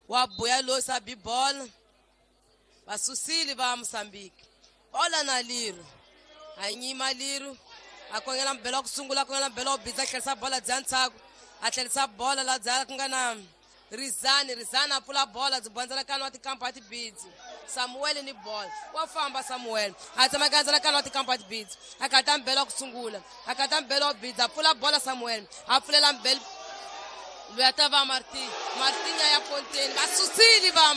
Wa buya losa bi bola vasusile va Mozambique. Bola na Liro a nyima Liro a kongela mbelo wa ku sungula, a kongela mbelo wa bidza, a tlherisa bola dya ntshaku, a tlherisa bola la dya ku nga na Rizani. Rizani a pfula bola byi bondzelekana wa tikampa tibidzi Samuel ni bola wa famba. Samuel a tsemakanya wa tikampa tibidzi, a kata mbelo wa ku sungula, a kata mbelo wa bidza, a pfula bola. Samuel a pfulela mbelo loyi a ta va Martin. Martin ya ponteni, va susile va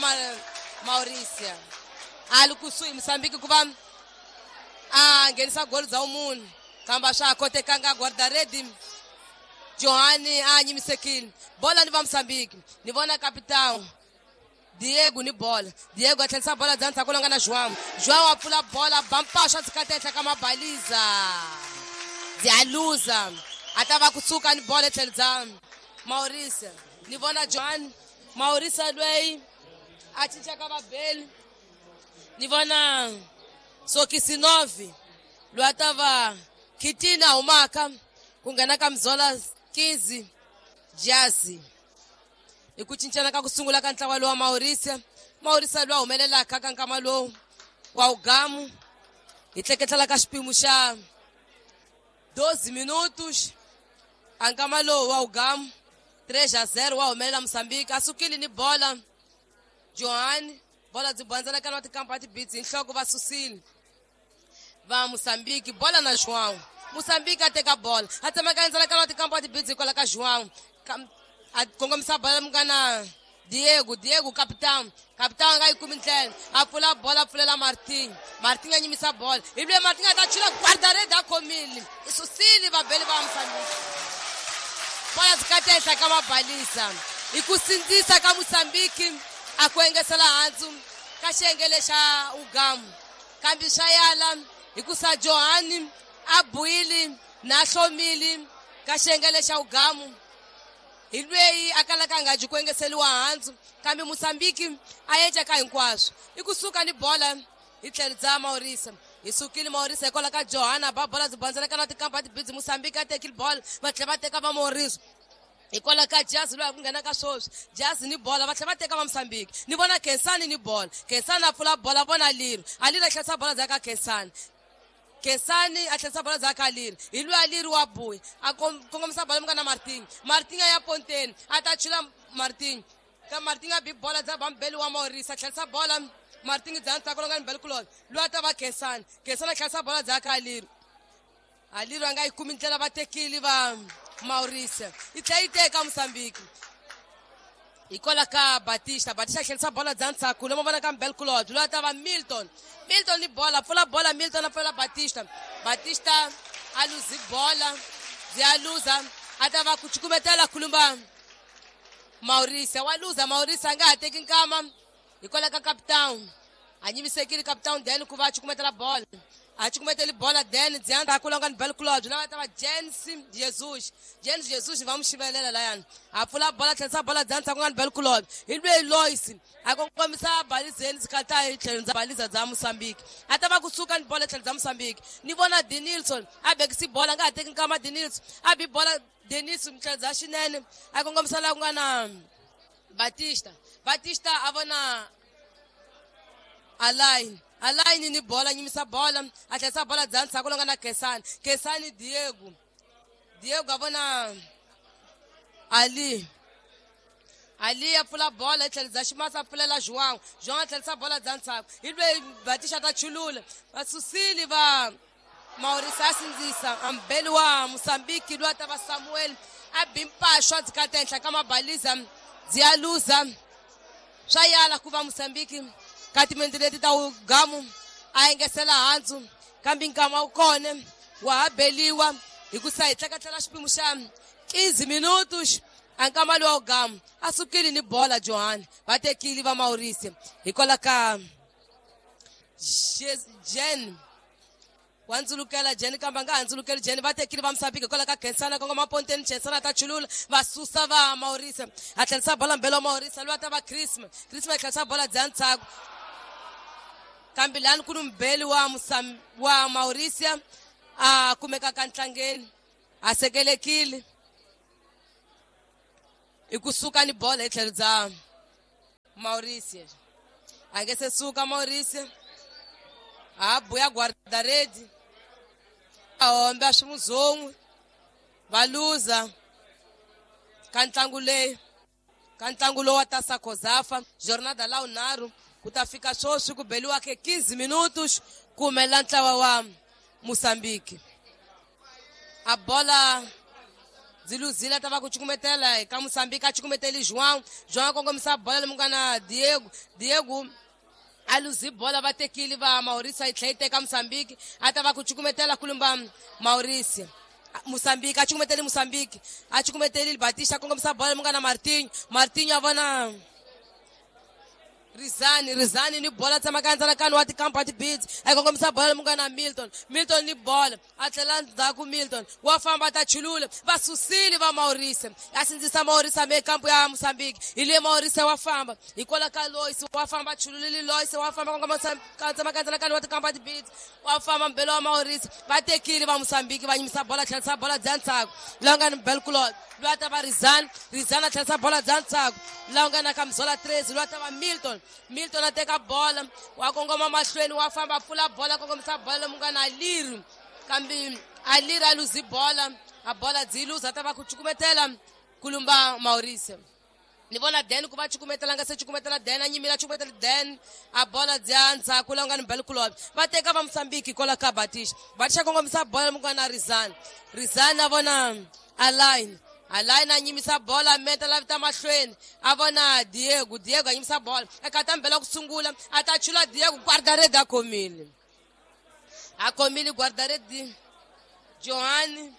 Mauricia. A li kusuhi Mozambique ku va a nghenisa goli bya vumunhu, kambe a swa ha kotekanga. Guardaredi Johani a nyimisekile bola ni va Mozambique. Ni vona capitão Diego ni bola. Diego a tlherisa bola bya ndzhaku longa na João. João a pfula bola, bampasha tshikata ehenhla ka mabaliza, bya luza. A ta va kusuka ni bola etlhelo bya Maurice. Ni vona Johan Maurice loyi a cincaka vabeli. Ni vona Sokisinovi loyi a ta va Kitina humaka ku nghena ka Mzola 15 Jazi. Hi ku cincana ka ku sungula ka ntlawa lowa Maurice. Maurice loyi a humelelaka ka nkama lowu wa ugamu, hi tleketlela ka xipimo xa 12 minutos a nkama lowu wa ugamu, 3-0 wa humelela Mozambique. A sukile ni bola Johan, bola byi bondzelekana wa tikampa tibitsi hi nhloko, va susile va Mozambique. Bola na João. Mozambique a teka bola, a tsemakanya wa tikampa tibitsi hikwalaho ka João, a kongomisa bola mungana Diego. Diego capitão, capitão a nga yi kumi ndlela, a pfula bola, a pfulela Martin. Martin a nyimisa bola, hi loyi Martin a ta chula, guardarede a khomile, i susile vabeli va Mozambique. Bola byi ehenhla ka mabalisa. Hi ku sindzisa ka Mozambique a ku engesela handzu ka xiyenge xa ugamu, kambe swa yala hikusa Johani a buyile na hlomile ka xiyenge xa ugamu. Hi lweyi a kalaka a nga dyi ku engeseliwa handzu, kambe Mozambique a endla ka hinkwaswo. I kusuka ni bola hi tlhelo bya Maurice. Hi sukile Maurice hikwalaho ka Johana ba bola byi bondzeleka na tikampa tibidzi. Mozambique a tekile bola, va tlhela va teka va Maurice hikwalaho ka Jazi loyi a ku nghena ka swoswi. Jazi ni bola, va tlhela va teka va Mozambique. Ni vona Khensani ni bola. Khensani a pfula bola, vona Liro. A Liro a tlherisa bola bya ka Khensani. Khensani a tlherisa bola bya ka Liro. Hi loyi a Liro wa buya, a kongomisa bola munga na Martin. Martin a ya ponteni, a ta chula Martin ka Martin, a bi bola bya bambeli wa Maurice. A tlherisa bola Martin bya ntsako longa ni beli kulolo loyi a ta va Khensani. Khensani a tlherisa bola bya ka Liro. A Liro a nga yi kumi ndlela, va tekile va Maurice. Yi tlhela yi teka Mozambique hikwalaho ka Batista. Batista a tlherisa bola bya ntshaku lomu vona ka Mbelkulod loyi a ta va Milton. Milton ni bola, pfula bola Milton, a pfulela Batista. Batista a luzi bola, byi a luza. A ta va ku cukumetela khulumba Maurice, wa luza Maurice, a nga ha teki nkama hikwalaho ka capitão a nyimisekile capitão then ku va a cukumetela bola. A cukumeteli bola then bya ndzhaku longa ni Belclod lava ta va Jens Jesus. Jens Jesus va n'wi xivelela layani, a pfula bola, tlherisa bola bya ndzhaku nga ni Belclod. Hi lweyi Lois a kongomisa balizeni sikata hi tlhelo bya baliza bya Mozambique. A ta va kusuka ni bola tlhelo bya Mozambique. Ni vona Denilson a bekisi bola, nga ha teki nkama. Denilson a bi bola, Denis tlhelo bya xinene, a kongomisa laha ku nga na Batista. Batista a vona Alain. Alain ni bola, nyimisa bola, a tlherisa bola bya ndzhaku longa na Kesani. Kesani Diego. Diego a vona Ali. Ali a pfula bola hi tlhelo bya ximasa, a pfulela João. João a tlherisa bola bya ndzhaku. Hi loyi Batista ta chulula. Va susile va Maurice, a sindzisa ambeli wa Mozambique loyi a ta va Samuel, a bi mpaxwa dzikata ehenhla ka mabaliza, byi ya luza. Swa yala ku va Mozambique ka timinete leti ta ugamu a engesela handzu, kambe nkama wu kona wa ha beliwa hikusa hi tleketlela xipimo xa 15 minutos a nkama lowa ugamu. A sukile ni bola Johan, va tekile va Maurice hikwalaho ka Jen wa ndzulukela Jen, kambe a nga ha ndzulukeli Jen. Va tekile va Mozambique hikwalaho ka Khensana, kongoma ponteni. Khensana ta chulula, va susa va Maurice. A tlherisa bola mbelo wa Maurice loyi a ta va Christmas. Christmas a tlherisa bola bya ntshaku, kambe lani ku ni mubeli wa wa Mauricia a kumekaka ntlangeni, a sekelekile. I kusuka ni bola hi tlhelo bya Mauricio a nge se suka Mauricio a buya guarda-rede a hombe a swi muzon'we va luza ka ntlangu leyi ka ntlangu lowu wa Taça COSAFA jornada la vunharhu ku ta fika sweswi ku beliwaka 15 minutos ku humelela ntlawa wa Mozambique. A bola byi luzile ta va ku cukumetela eka Mozambique a cukumeteli João. João a kongomisa bola lomu nga na Diego. Diego a luzi bola va tekile va Mauricio yi tlhela yi teka Mozambique a ta va ku cukumetela kulumba Mauricio. Mozambique a cukumeteli Mozambique a cukumeteli Batista a kongomisa bola lomu nga na Martinho. Martinho a vona Rizani. Rizani ni bola tsemaka ndzalakano wa tikampa ti-beats a kongomisa bola lomu nga na Milton. Milton ni bola a tlhela ndzhaku Milton wa famba ta chulula va susile va Mauricio a sindzisa Mauricio me kampu ya Mozambique hi le Mauricio wa famba hikwalaho ka Lois wa famba chululile Lois wa famba kongomisa tsemaka ndzalakano wa tikampa ti-beats wa famba mbelo wa Mauricio va tekile va Mozambique va nyimisa bola tlherisa bola bya ntsako laha nga ni Belkulot loyi a ta va Rizani. Rizani a tlherisa bola bya ntsako laha nga na Kamzola 13 loyi a ta va Milton. Milton a teka bola wa kongoma mahlweni wa famba pfula bola kongomisa bola lomu nga na Aliri kambe Aliri a luzi bola a bola dzi luza ta va ku cukumetela kulumba Mauricio. Ni vona Dan ku va cukumetela nga se cukumetela Dan a nyimile a cukumetela Dan a bola dya ndzhaku laha nga ni Belkulot va teka va Mozambique kwala ka Batista. Batista kongomisa bola lomu nga na Rizani. Rizani a vona Alain. Alain a nyimisa bola meta la vita mahlweni a vona Diego. Diego a nyimisa bola eka ta mbela ku sungula a ta chula Diego guarda-rede a khomile. A khomile guarda-rede Johan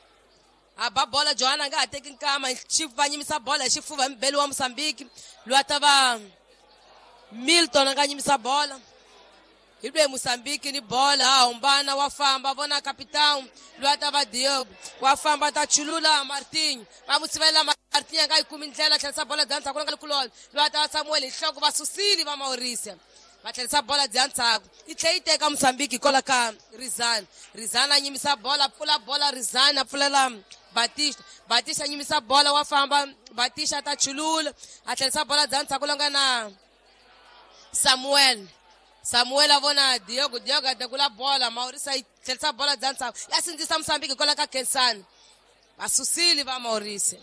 a ba bola Johan a nga ha teki nkama va nyimisa bola hi xifuva hi mubeli wa Mozambique loyi a ta va Milton a nga nyimisa bola hi lweyi Mozambique ni bola a humbana wa famba vona capitão loyi a ta va Diego wa famba ta chulula Martinho va mu sivela Martinho a nga yi kumi ndlela tlherisa bola bya ndzhaku nga kulolo loyi a ta va Samuel hi nhloko va susile va Mauricio va tlherisa bola bya ndzhaku yi tlhela yi teka Mozambique hikwalaho ka Rizani. Rizani a nyimisa bola pfula bola Rizani a pfulela Batista. Batista a nyimisa bola wa famba Batista a ta chulula a tlherisa bola bya ndzhaku loyi nga na Samuel. Samuel a vona Diego. Diego a tekula bola Mauricio yi tlherisa bola bya ndzhaku ya sindzisa Mozambique hikwalaho ka Kensani va susile va Mauricio.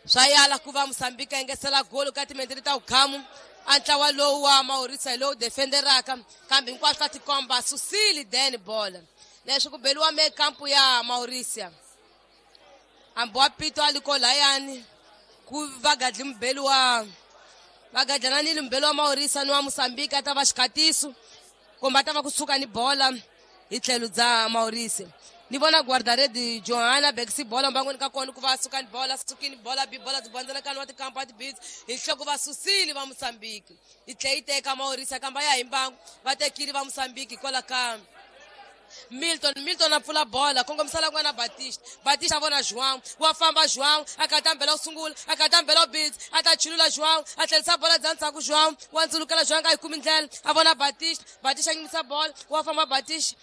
Swa yala ku va Mozambique a engetela golo ka timinete ta vukhamu a ntlawa lowu wa Mauricio hi lowu defenderaka kambe hinkwaswo ka tikomba susile Dan bola leswi ku beliwa me kampu ya Mauricio hambi wa pito a liko layani ku va gadli mubeli wa va gadlananile mubeli wa Mauricio ni wa Mozambique a ta va xikhatiso kumbe a ta va kusuka ni bola hi tlhelo bya Mauricio. Ni vona guarda-rede Johanna bekisi bola mbangweni ka kona ku va suka ni bola sukini bola bi bola byi bandzelakani wa tikampa wa tibits hi nhloko va susile va Mozambique yi tlhela yi teka Mauricio kambe ya hi mbangu va tekile va Mozambique hikwalaho ka Milton. Milton a pfula bola kongomisa la n'wana Batista. Batista a vona João wa famba João a kata mbela ku sungula a kata mbela bits a ta chulula João a tlherisa bola bya ndzhaku João wa ndzulukela João nga yi kumi ndlela a vona Batista. Batista a nyimisa bola wa famba Batista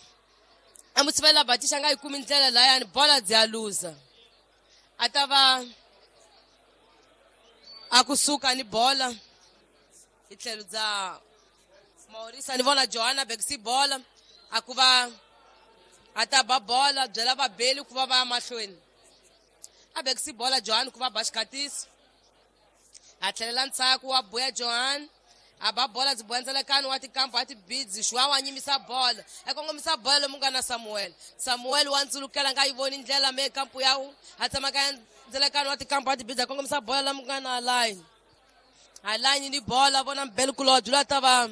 a mu sivela Batista nga yi kumi ndlela layani bola dzi a luza a ta va a kusuka ni bola hi tlhelo bya Mauricio. Ni vona Johanna bekisi bola a ku va a ta ba bola byela vabeli ku va va ya mahlweni a bekisi bola Johan ku va ba xikhatiso a tlhelela ndzhaku wa buya Johan a ba bola byi bondzelekani wa tikampa wa tibidzi João wa nyimisa bola a kongomisa bola lomu nga na Samuel. Samuel wa ndzulukela nga yi voni ndlela me kampu ya a tsemaka ndzelekani wa tikampa wa tibidzi a kongomisa bola lomu nga na Alain. Alain ni bola vona mbeli kulobye loyi a ta va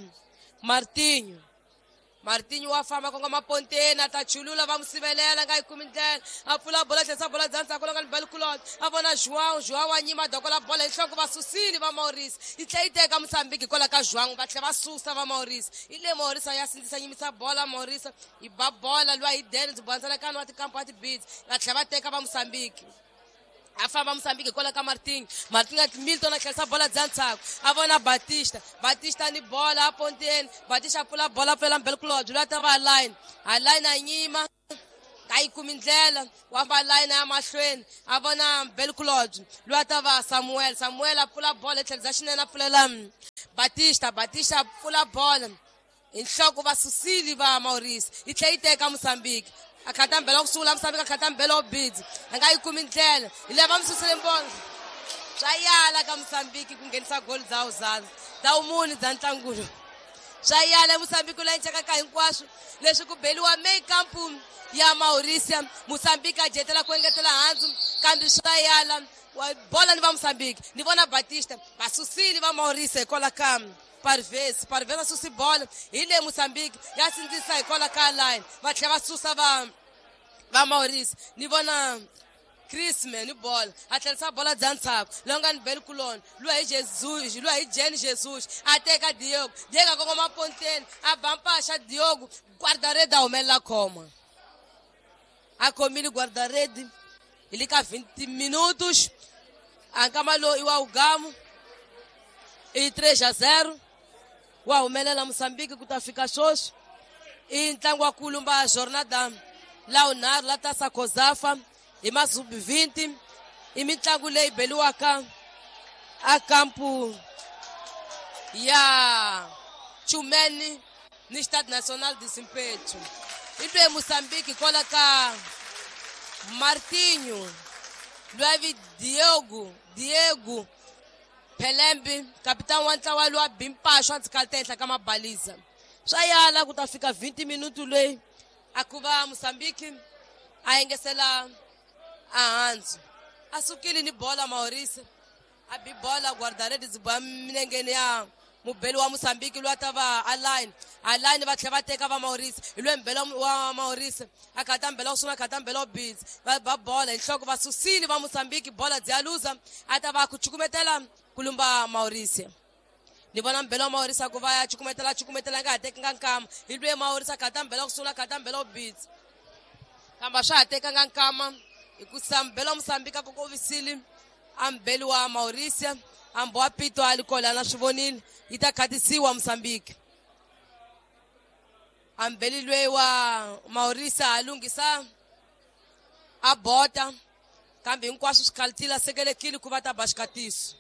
Martinho. Martinho wa famba kongoma ponteni a ta chulula va mu sivelela nga yi kumi ndlela a pfula bola tlherisa bola bya ndzhaku la nga ni beli kulobye a vona João. João wa nyima dokola bola hi nhloko va susile va Mauricio yi tlhela yi teka Mozambique hikwalaho ka João va tlhela va susa va Mauricio hi le Mauricio ya sindzisa nyimisa bola Mauricio yi ba bola luwa hi Den byi bandzelakani wa tikampa wa tibits va tlhela va teka va Mozambique a famba Mozambique hikwalaho ka Martinho. Martinho Milton a tlherisa bola bya ndzhaku a vona Batista. Batista ni bola a ponteni Batista a pfula bola pfulela mbeli kulobye loyi a ta va Alain. Alain a nyima a yi kumi ndlela wa va line ya mahlweni a vona mbeli kulobye loyi a ta va Samuel. Samuel a pfula bola hi tlhelo bya xinene a pfulela Batista, Batista pfula bola hi nhloko va susile va Maurice, yi tlhela yi teka Mozambique. A khata mbela ku sungula Mozambique, a khata mbela wo bidzi, a nga yi kumi ndlela, hi lava mi susile mbona. Swa yala ka Mozambique ku nghenisa goli dza uzana dza umuni dza ntlangulo. Swa yala Mozambique la encaka hinkwaswo leswi ku beliwa main camp ya Maurice. Mozambique a jetela ku engetela handzu, kambe swa yala bola ni va Mozambique. Ni vona Batista va susile va Maurice hikwalaho ka Parvez. Parvez a susi bola hi le Mozambique ya sindzisa hikwalaho ka line, va tlhela va susa va Maurice. Ni vona Chrisman ni bola, a tlherisa bola dza ntshaku longa ni beli kuloni lwa hi Jesus, lwa hi Jen Jesus, a teka Diogo. Diego a kongoma ponteni, a ba mpaxa Diogo, guarda-rede a humelela khoma, a khomile guarda-rede hi le ka 20 minutos. A nkama lowu i wa ugamu i 3-0 wa humelela Mozambique ku ta fika sweswi. I ntlangu wa kulumba jornada la unharhu la tasa COSAFA hi masubi 20, i mitlangu leyi beliwaka a kampu ya Chumeni ni Stade National de Zimpeto. I lwe Mozambique kwala ka Martinho, lwavi Diogo, Diego Pelembe, capitão wa ntlawa lowa bimpaxo a ndzi kalita ehenhla ka mabaliza. Swa yala ku ta fika 20 minuto leyi a ku va Mozambique a engesela ahandzu. A sukile ni bola Maurice, a bi bola guarda-redes ba minengeni ya mubeli wa Mozambique loyi a ta va aline. Aline va tlhela va teka va Maurice, hi loyi mbela wa Maurice a khata mbela ku sungula, khata mbela wa bidzi, va ba bola hi nhloko va susile va Mozambique, bola dzi ya luza, a ta va ku cukumetela kulumba Maurice. Ni vona mbela wa Maurice ku va ya cukumetela, cukumetela nga ha tekanga nkama, hi loyi Maurice a khata mbela ku sungula, khata mbela wa bidzi, kambe swa ha tekanga nkama hikusa mbela wa Mozambique a kokovisile a mbeli wa Maurice, ambo wa pito a li kola na swi vonile, yi ta khatisiwa Mozambique. A mbeli loyi wa Maurice a lunghisa a bota, kambe hinkwaswo swi khalitile, a sekelekile ku va ta ba xikatiso.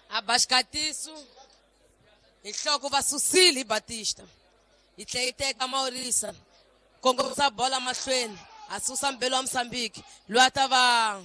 A ba xikatiso hi nhloko va susile hi Batista, yi tlhela yi teka Maurice, kongomisa bola mahlweni, a susa mbeli wa Mozambique loyi a ta va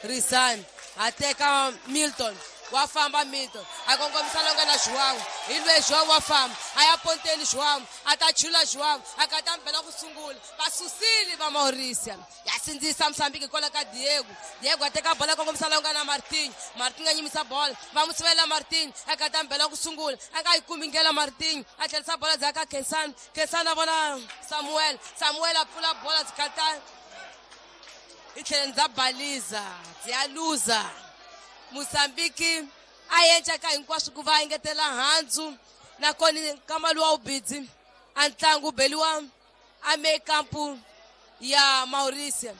Rizani, a teka Milton, wa famba Milton, a kongomisa longa na João, hi loyi João wa famba a ya ponteni, João a ta chula, João a kata mbela ku sungula, va susile va Maurice, ya sindzisa Mozambique hikwalaho ka Diego. Diego a teka bola, kongomisa longa na Martinho. Martinho a nyimisa bola, va n'wi sivela Martinho, a kata mbela ku sungula, a nga yi kumi ndlela Martinho, a tlherisa bola ndzhaku ka Khensani. Khensani a vona Samuel, Samuel a pfula bola byi kata i tlhela ndza baliza byi ya luza. Mozambique a yenca ka hinkwaswo ku va engetela handzu, nakona nkama luwa wu bidzi a ntlangu beliwa a mekampu ya Maurice.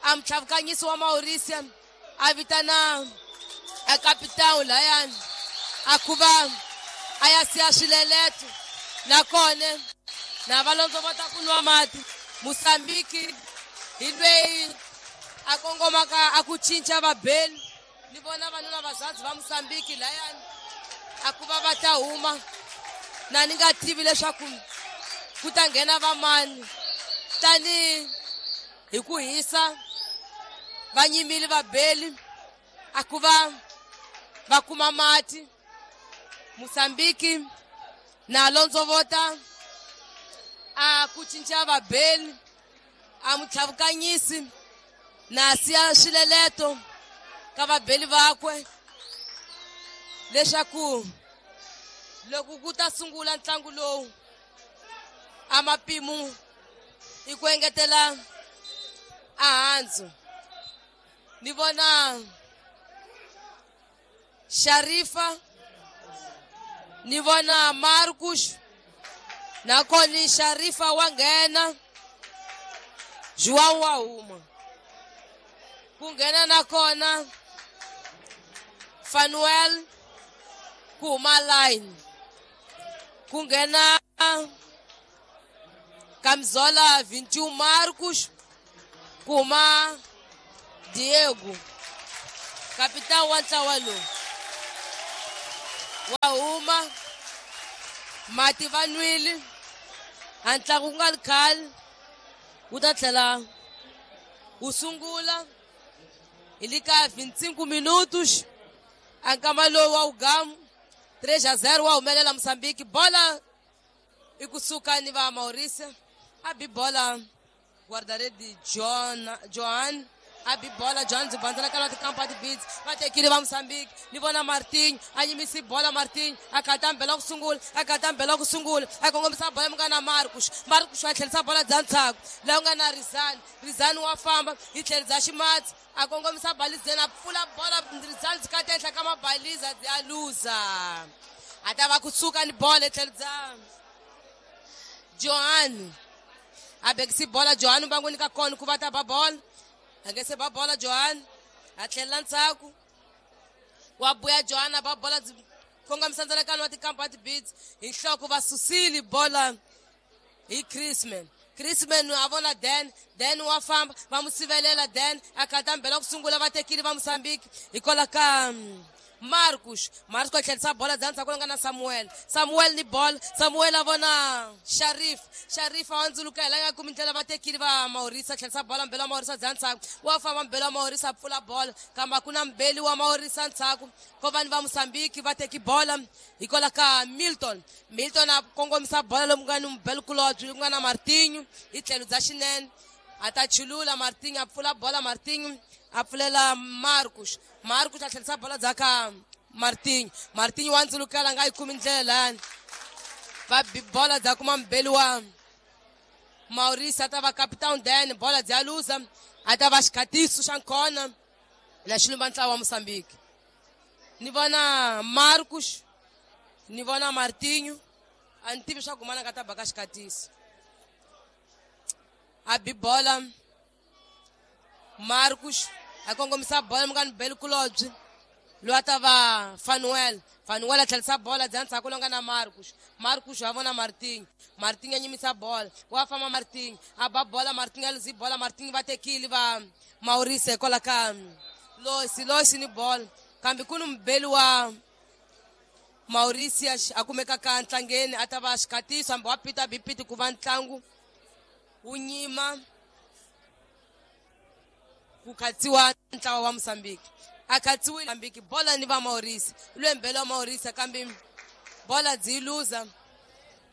A mutlhavukanyisi wa Maurice a vitana a kapitão layani a ku va a ya siya swileleto, nakona na va londzovota ku nwa mati. Mozambique hi loyi a kongomaka a ku cinca vabeli, ni vona vanuna vazazi va Mozambique layani a ku va va ta huma, na ni nga tivi leswaku ku ta nghena vamani, tani hi ku hisa va nyimile vabeli a ku va va kuma mati. Mozambique na londzovota a ku cinca vabeli, a mutlhavukanyisi na siya swileleto ka vabeli vakwe leswaku loko ku ta sungula ntlangu lowu a mapimo i ku engetela ahandzu. Ni vona Sharifa, ni vona Marcus, nakona Sharifa wa nghena, João wa huma, ku nghena nakona Fanuel, ku huma line, ku nghena Camisola 21 Marcos, ku huma Diego, capitão wa ntlawa lowu. Wa huma mati va nwile a ntlangu ku nga ri khale wu ta tlhela wu sungula hi le ka 25 minutos a nkama lowu wa wugamu 3-0 wa humelela Mozambique. Bola i kusuka ni va Maurice a bi bola guarda-rede Johan a bi bola Johan byi bandzela ka tikampa tibits va tekile va Mozambique. Ni vona Martin a yimisi bola, Martin a kata mbela ku sungula, a kata mbela ku sungula, a kongomisa bola mi nga na Marcus. Marcus a tlherisa bola bya ntshaku laha ku nga na Rizani. Rizani wa famba hi tlhelo bya ximatsi, a kongomisa balizeni, a pfula bola Rizani byi kata ehenhla ka mabaliza byi a luza. A ta va kusuka ni bola hi tlhelo bya Johan, a bekisi bola Johan va n'wi nyika kona ku va ta ba bola, a nge se ba bola Johan a tlhelela ndzhaku wa buya Johan a ba bola byi kongomisa ndzalakano wa tikampa tibits hi nhloko va susile bola hi Chrisman. Chrisman a vona Dan, Dan wa famba va n'wi sivelela Dan a kata mbela ku sungula va tekile va Mozambique hikwalaho ka Marcus. Marcus a tlherisa bola bya ndzhaku nga na Samuel. Samuel ni bola, Samuel a vona Sharif. Sharif a hundzuluka hi la nga kumi ndlela va tekile va Maurice, a tlherisa bola mbela wa Maurice bya ndzhaku wa famba mbela wa Maurice a pfula bola kambe a ku na mbeli wa Maurice ndzhaku ko vanhu va Mozambique va teki bola hikwalaho ka Milton. Milton a kongomisa bola lomu nga ni mubeli kulobye ku nga na Martinho hi tlhelo bya xinene a ta chulula Martinho a pfula bola, Martinho a pfulela Marcus. Marcus a tlherisa bola bya ka Martinho. Martinho wa ndzulukela nga yi kumi ndlela lani va bola bya kuma mbeli wa Maurice a ta va capitão Dan, bola bya luza a ta va xikhatiso xa nkona na xilumba ntlawa wa Mozambique. Ni vona Marcus, ni vona Martinho, a ni tivi swa ku mana nga ta baka xikhatiso. A bi bola Marcus a kongomisa bola mi nga ni beli kulobye loyi a ta va Fanuel. Fanuel a tlherisa bola bya ndzhaku lowu nga na Marcus. Marcus a vona Martinho, Martinho a nyimisa bola wa famba Martinho a ba bola, Martinho a luzi bola, Martinho va tekile va Maurice hikwalaho ka Losi. Losi ni bola kambe ku ni mubeli wa Maurice a kumeka ka ntlangeni a ta va xikhatiso hambi wa pita bipiti ku va ntlangu wu nyima ku khatsiwa ntlawa wa Mozambique. A khatsiwile Mozambique bola ni va Maurice, lwembele wa Maurice kambe bola byi luza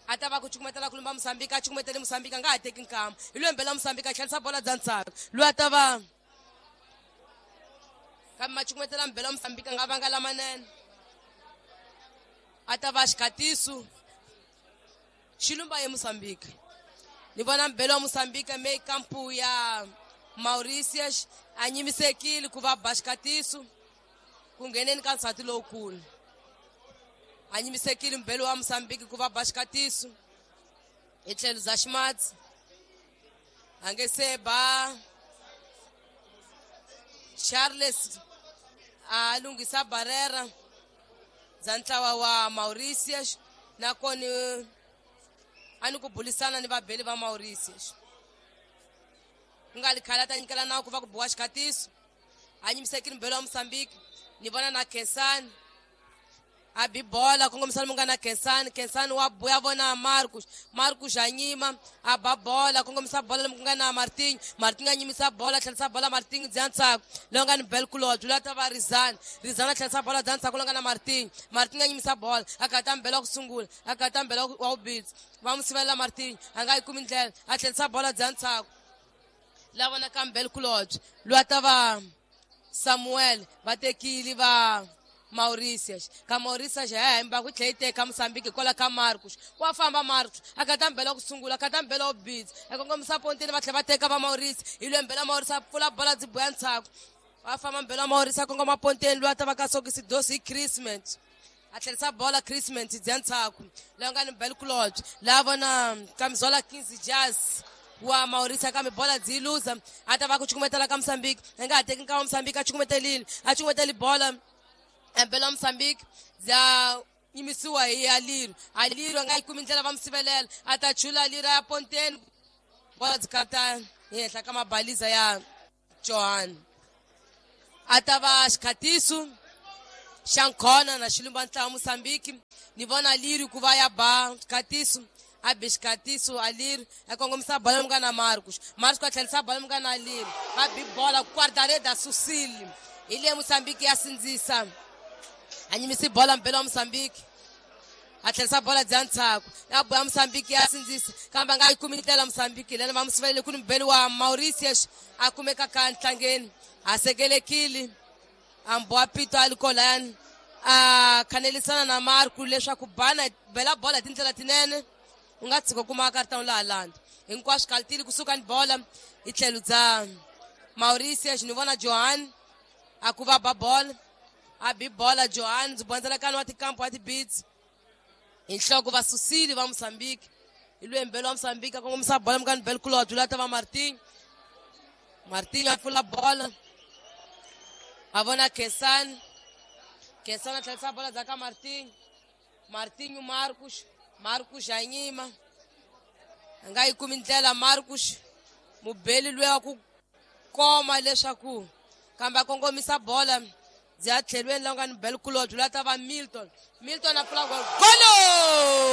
a ta va ku cukumetela ku lumba Mozambique, a cukumetele Mozambique a nga ha teki nkama hi lwembele wa Mozambique a tlherisa bola bya ndzhaku loyi a ta va kambe ma cukumetela mbele wa Mozambique a nga vanga lamanene a ta va xikhatiso xilumba ye Mozambique. Ni vona mbele wa Mozambique me kampu ya Mauritius a nyimisekile ku va ba xikhatiso ku ngheneni ka nsati lowukulu, a nyimisekile mbele wa Mozambique ku va ba xikhatiso hi tlhelo bya ximatsi a nge se ba Charles a lunghisa barrera bya ntlawa wa Mauritius nakona a ni ku bulisana ni vabeli va Mauritius ku nga ri khale a ta nyikela nawu ku va ku biwa xikhatiso a nyimisekile mbele wa Mozambique. Ni vona na Khensani a bi bola kongomisa lomu nga na Khensani. Khensani wa buya vona Marcus. Marcus a nyima a ba bola kongomisa bola lomu ku nga na Martinho. Martinho a nyimisa bola tlherisa bola Martinho bya ntshaku lowu nga ni bel kulobye loyi a ta va Rizani. Rizani a tlherisa bola bya ntshaku lowu nga na Martinho. Martinho a nyimisa bola a kata mbela ku sungula a kata mbela wa vubitsi va n'wi sivelela Martinho a nga yi kumi ndlela a tlherisa bola bya ntshaku la vonaka mbel kulobye loyi a ta va Samuel va tekile va Mauritius ka Mauritius ya hemba ku tlhela yi teka Mozambique hikwalaho ka Marcus wa famba Marcus a kata mbela ku sungula a kata mbela wo bitsa a kongomisa pontini va tlhela va teka va Maurice hi lwe mbela Maurice a pfula bola byi boya ntshaku va famba mbela Maurice a kongoma pontini loyi a ta va ka sokisi dosi hi Christmas a tlherisa bola Christmas bya ntshaku loyi nga ni bel kulobye laha vona Kamizola Kings Jazz wa Maurice kambe bola byi luza a ta va ku cukumetela ka Mozambique a nga ha teki nkama Mozambique a cukumetelile a cukumeteli bola embela Mozambique bya yimisiwa hi Aliru. Aliru a nga yi kumi ndlela va mu sivelela a ta chula Aliru ya ponteni bola byi kata hi henhla ka mabaliza ya Johan a ta va xikhatiso Xankhona na xilumba ntlawa Mozambique. Ni vona Liri ku va ya ba Katiso, a be xikatiso a Liri a kongomisa bola munghana Marcos. Marcos a tlherisa bola munghana Liri, va bi bola guarda-rede Susili. Hi le Mozambique ya sindzisa, a nyimisi bola mbelo wa Mozambique, a tlherisa bola dya ntshaku ya boya Mozambique ya sindzisa, kambe a nga yi kumi ndlela Mozambique lena va musivelele ku ni mubeli wa Mauritius a kumeka ka ntlangeni a sekelekile amboa pito a li kolayani a khanelisana na Marco leswaku bana bela bola hi tindlela tinene, u nga tshika kuma karata laha landa hinkwaswo kalitile kusuka ni bola hi tlhelo bya Mauritius. Ni vona Johan a ku va ba bola, a bi bola Johan, ndzi bondzelekani wa tikampo wa tibits hi nhloko va susile va Mozambique. Hi lwe mbelo wa Mozambique a kongomisa bola mukani bel kulodwe la ta va Martin. Martin a pfula bola, a vona Kesani. Kesani a tlherisa bola dza ka Martin. Martinho Marcos, Marcos a nyima, a nga yi kumi ndlela Marcos, mubeli luya wa ku koma leswaku kambe a kongomisa bola bya tlhelweni la nga ni bel kulodwe la ta va Milton. Milton a pfula golo.